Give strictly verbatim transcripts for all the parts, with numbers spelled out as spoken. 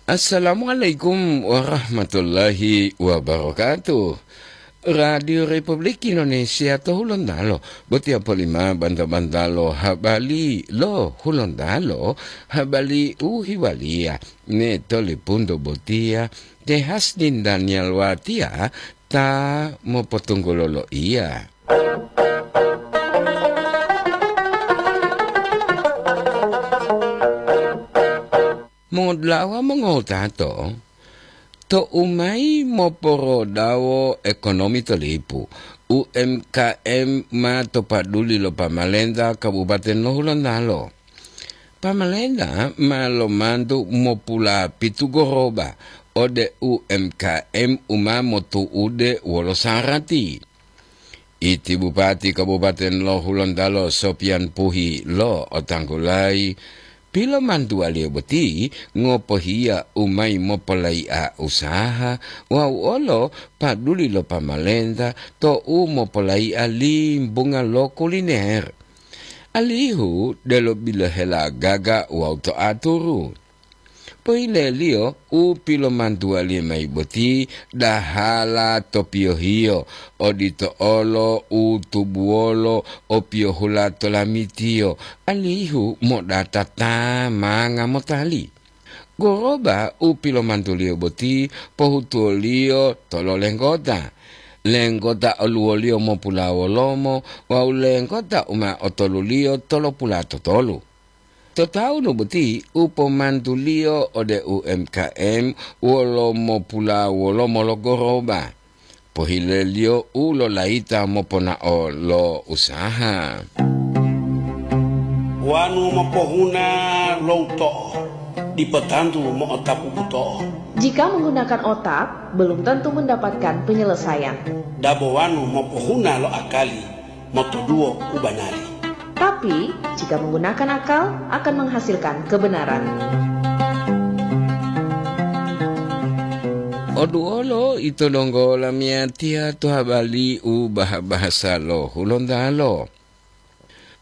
Assalamualaikum warahmatullahi wabarakatuh. Radio Republik Indonesia to Hulontalo, botiya polima banta-bantalo habari lo Hulontalo, habari u hiwaliya ne to lipunto botiya, te Hasdin Daniel Watia ta mopotunggulo loiya. Mongodulawa mongowutato, to u mayi moporodawo ekonomi to lipu, U M K M ma to paduli lo pamalenta Kabupaten lo Hulontalo. Pamalenta ma lomantu mopulapitu goroba ode U M K M u ma motu'ude wolo sarati. Iti Bupati Kabupaten lo Hulontalo Sopian Puhi lo otanggulayi, pilomantuwaliyo boti ngopohiya u mayi mopolai'a usaha wawu olo paduli lo pamalenta to u mopolai'a limbunga lo kuliner, alihu delo bilohela gaga wawu to aturu. Pohileliyo u pilomantuwaliyo mayi boti dahala to piyohiyo, odito olo u tubuwolo o piyohula to lamitiyo, alihu modata ta manga motali. Goroba u pilomantuliyo boti pohutuwoliyo tolo lenggota. Lenggota oluwoliyo mopulawolomo wawu lenggota u ma otoluliyo tolopula totolu. To tawunu boti u pomantuliyo ode U M K M wolo mopulawolomo lo goroba. Pohileliyo u lolayita moponao lo usaha. Wanu mopohuna lo uto'o, dipo tantu mo'otapu buto'o. Jika menggunakan otak, belum tentu mendapatkan penyelesaian. Dabo wanu mopohuna lo akali, motoduwo u banari. Tapi, jika menggunakan akal, akan menghasilkan kebenaran. Oduolo ito donggo lamiyatiya to habari u baha-bahasa lo Hulontalo.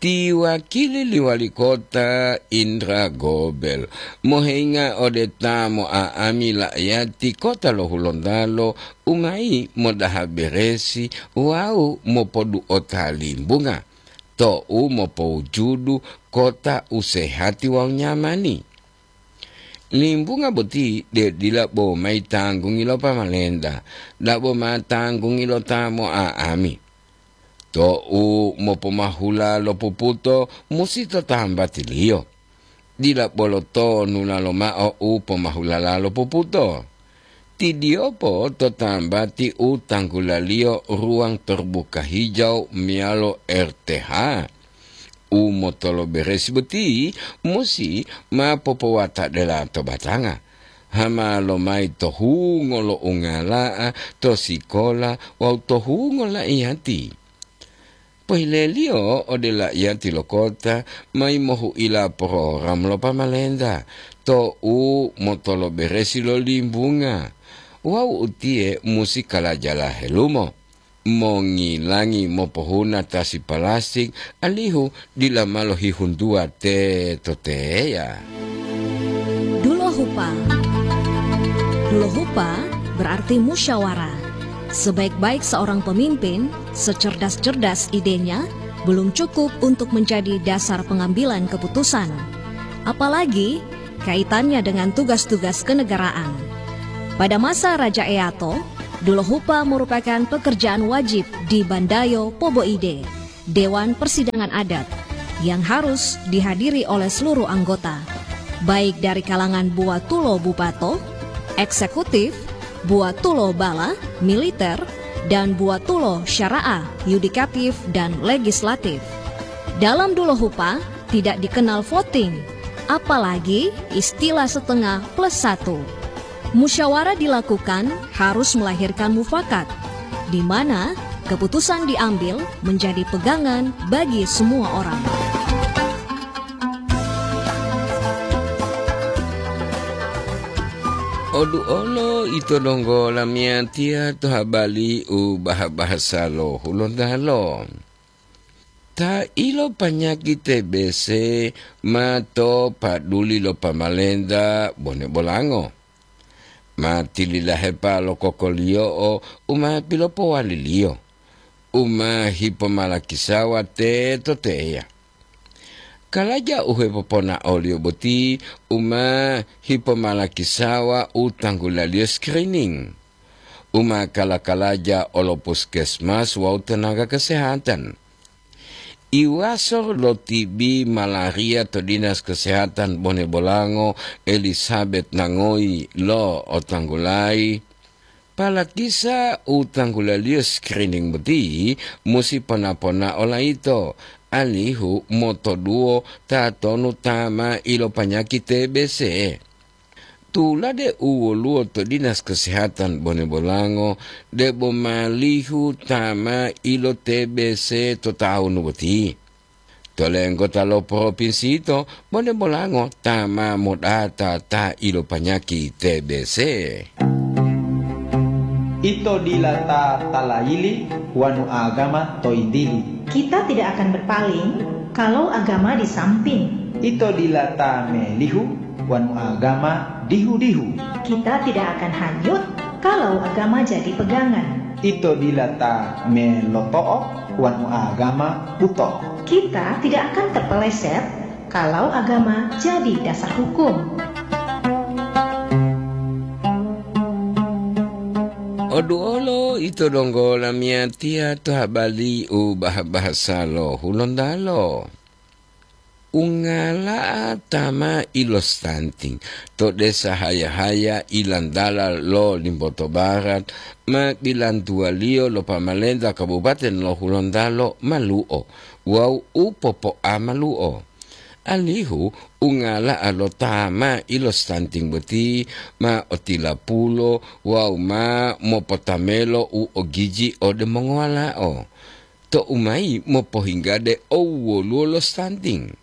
Ti wakili li wali kota Indra Gobel moheinga ode ta mo'a'ami la'ayati kota lo Hulontalo u mayi modaha beresi wawu mopodu'ota limbunga to u mopowujudu kota u sehati wawu nyamani. Limbunga boti de dila bo mayi tanggungi lo pamalenta, dabo ma tanggungi lo ta mo'a'ami. To u mopomahula lo puputo musi to tambatiliyo. Dila bolo to nulalo mao u pomahulala lo puputo. Ti Diopo to tambati u tanggulaliyo ruwang terbuka hijau meyalo R T H. U motoloberesi boti musi ma popowatadela to batanga, hama lomayi to hungo lo ungala'a, to sikola wawu to hungo la'iyati. Pohileliyo ode la'iyati lo kota mayi mohu'ila program lo pamalenta to u motoloberesi lo limbunga, wawu utiye musi kalajala helumo, mongilangi mopohuna tasi palastik alihu dila ma lohihuntuwa teto teya. Dulohupa. Dulohupa berarti musyawarah. Sebaik-baik seorang pemimpin, secerdas-cerdas idenya, belum cukup untuk menjadi dasar pengambilan keputusan. Apalagi kaitannya dengan tugas-tugas kenegaraan. Pada masa Raja Eato, Dulohupa merupakan pekerjaan wajib di Bandayo Poboide, Dewan Persidangan Adat, yang harus dihadiri oleh seluruh anggota, baik dari kalangan buwatulo bupato, eksekutif, buwatulo bala, militer, dan buwatulo syara'ah, yudikatif, dan legislatif. Dalam Dulohupa tidak dikenal voting, apalagi istilah setengah plus satu. Musyawarah dilakukan harus melahirkan mufakat, di mana keputusan diambil menjadi pegangan bagi semua orang. Oduolo ito donggo lamiyatiya to habari u baha-bahasa lo Hulontalo. Ta ilopanyaki T B C ma to paduli lo pamalenta bone bolango. Ma tililahepa lo kokoliyo'o u ma pilopowaliliyo, u ma hipomalakisawa teto teya. Kalaja u hepoponaoliyo boti u ma hipomalakisawa u tanggulaliyo screening, u ma kala-kalaja olo puskesmas wawu tenaga kesehatan. Iwaso lo T B malaria to Dinas Kesehatan Bone Bolango, Elizabeth Nangoyi lo otanggulayi, palakisa u tanggulaliyo screening boti musi pona-ponao layito, alihu motoduwo tatonu ta ma ilopanyaki T B C. Tulade u woluwo to Dinas Kesehatan Bone Bolango, debo malihu ta ma ilo T B C to tawunu boti. To lenggota lo propinsi yito, Bone Bolango ta ma modata ta ilopanyaki T B C. Ito dila ta talayili wanu agama to yintili. Kita tidak akan berpaling kalau agama di samping. Ito dila ta melihu wanu agama dihu-dihu. Kita tidak akan hanyut kalau agama jadi pegangan. Ito dila ta meloto'o wanu agama buto. Kita tidak akan terpeleset kalau agama jadi dasar hukum. Oduolo ito donggo lamiyatiya to habali u bah-bahasa lo Hulontalo. Ungala'a ta ma ilostanting to desa Haya-Haya ilantala lo Limboto Barat ma bilantuwaliyo lo pamalenta Kabupaten lo Hulontalo malu'o wawu u popo'a malu'o. Alihu ungala'a lo ta ma ilostanting boti ma otilapulo wawu ma mopotamelo u ogiji ode mongowala'o, to u mayi mopohinggade owwoluwo lo stunting.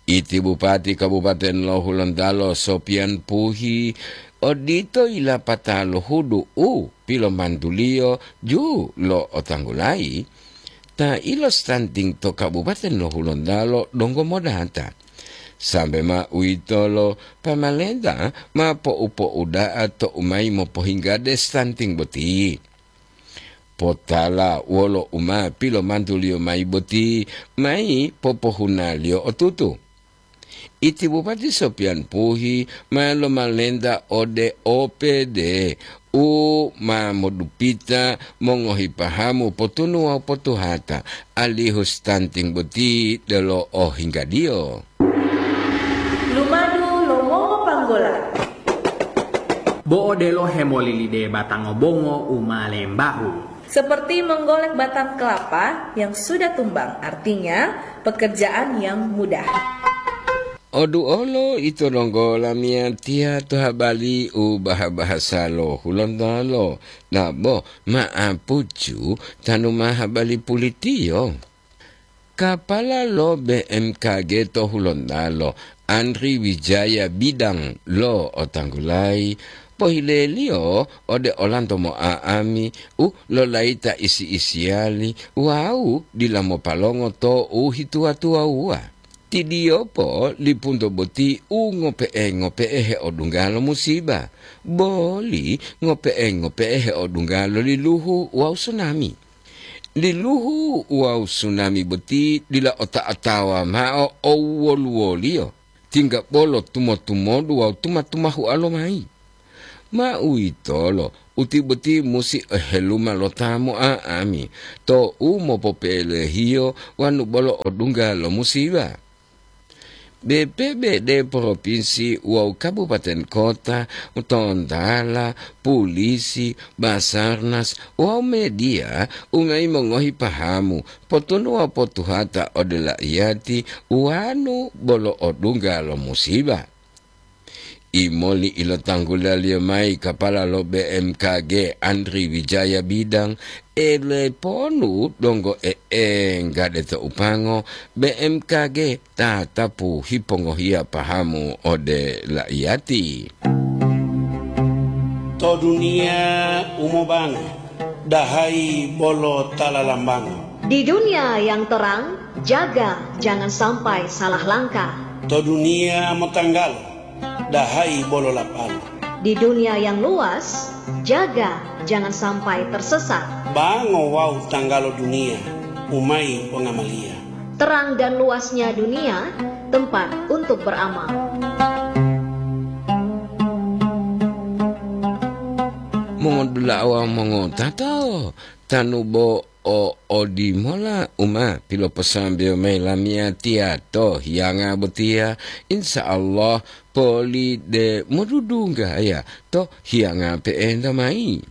Iti Bupati Kabupaten lo Hulontalo Sopian Puhi odito yilapata lohudu u pilomantuliyo ju lo otanggulayi, ta ilo stunting to Kabupaten lo Hulontalo donggo modata. Sambe ma uwitolo, pamalenta ma po'u-po'uda'a to u mayi mopohinggade stunting boti. Potala wolo u ma pilomantuliyo mayi boti, mayi popohunaliyo otutu. Iti Bupati Sopian Puhi ma lomalenta ode O P D u ma modupita mongohi pahamu potunu wawu potuhata, alihu stunting boti delo ohinggadiyo. Lumadu lo mongopanggola. Bo odelo hemolilide batango bongo u ma lembahu. Seperti menggolek batang kelapa yang sudah tumbang, artinya pekerjaan yang mudah. Odu olo ito donggo lamiyatiya to habali u baha-bahasa lo Hulontalo, nabo ma'apucu tanu ma habali pulitiyo. Kapala lo B M K G to Hulontalo, Andri Wijaya Bidang lo otanggulayi, pohileliyo ode olanto mo'a'ami u lolayita isi-isiyali wawu dila mopalongo to u hituwa-tuwawuwa. Tidiyopo lipunto boti u ngope'e-ngope'e heodungga lo musiba, boli ngope'e-ngope'e heodungga lo liluhu wawu sunami. Liluhu wawu sunami boti dila ota-otawa mao owoluwoliyo, tingga bolo tumo-tumodu wawu tuma-tumahu'a lomayi. Ma uwitolo, uti boti musi oheluma lo ta mo'a'ami to u mopope'elehiyo wanu bolo odungga lo musiba. B P B D provinsi wawu kabupaten kota, tontala, pulisi, Basarnas wawu media u mayi mongohi pahamu, potunu wawu potuhata ode la'iyati wanu bolo odungga lo musiba. Imoli ilotanggulaliyo mayi kapala lo B M K G Andri Wijaya Bidang, eleponu donggo e'engga de to upango B M K G tatapu hipongohiya pahamu ode la'iyati. To duniya u mobango, dahayi bolo ta lalambango. Di dunia yang terang, jaga jangan sampai salah langkah. To duniya motanggalo, dahayi bolo lapalo. Di dunia yang luas, jaga jangan sampai tersesat. Bango wawu tanggalo dunia, umai pongamaliya. Terang dan luasnya dunia, tempat untuk beramal. Mongodula'a wawu mongotato, tanu bo o odimola u ma piloposambeyo mayi lamiyatiya to hiyanga botiya, insya Allah poli de modudunggaya to hiyanga pe'enta mayi.